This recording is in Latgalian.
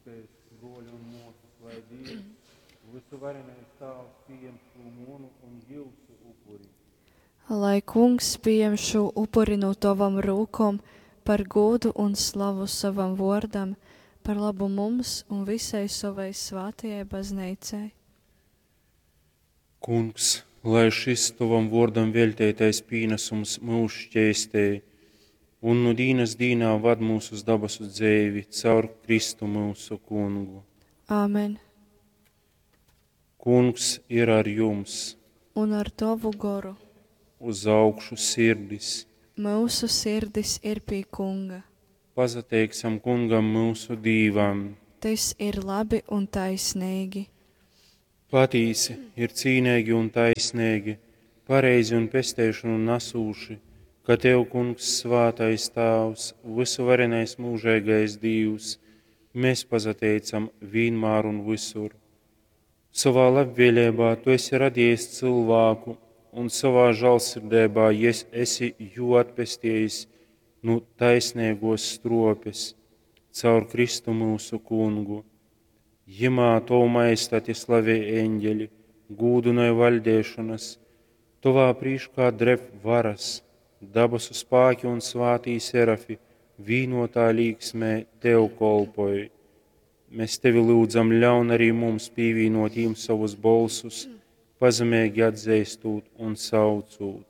Lyudzitēs, bruoļi un muosys, lai Dīvs, vysuvarenais Tāvs, pījem šū munu un jiusu upuri. Lai Kungs pījem šū upuri nu tovom rūkom par gūdu un slavu sovam vuordam, par labu mums un vysai sovai svātajai bazneicai. Kungs, lai šys tovam vuordam veļteitais pīnasums myus šķeistej un nu dīnas dīnā vad myus uz dabasu dzeivi caur Kristu myusu Kungu. Āmen. Kungs ir ar jums! Un ar tovu goru. Uz augšu sirdis! Myusu sirdis ir pie Kunga. Pasateiksim Kungam myusu Dīvam! Tys ir labi un taisneigi. Patīsi, ir cīneigi un taisneigi, pareizi un pesteišonu nasūši, ka tev, Kungs, svātais Tāvs, vysuvarenais myužeigais Dīvs, mēs pasateicam vīnmār un vysur. Sovā labvēleibā tu esi radījis cylvāku un sovā žālsirdeibā esi jū atpestejis nu taisneigōs struopes caur Kristu myusu Kungu. Jimā tovu majestati slavej eņģeļi, gūdynoj vaļdeišonas, tovā prīškā dreb varas, dabasu spāki un svātī serafi vīnotā līksmē tev kolpoj. Mēs tevi lyudzam, ļaun arī mums pīvīnot jim savus bolsus, pazemeigi atzeistūt un saucūt.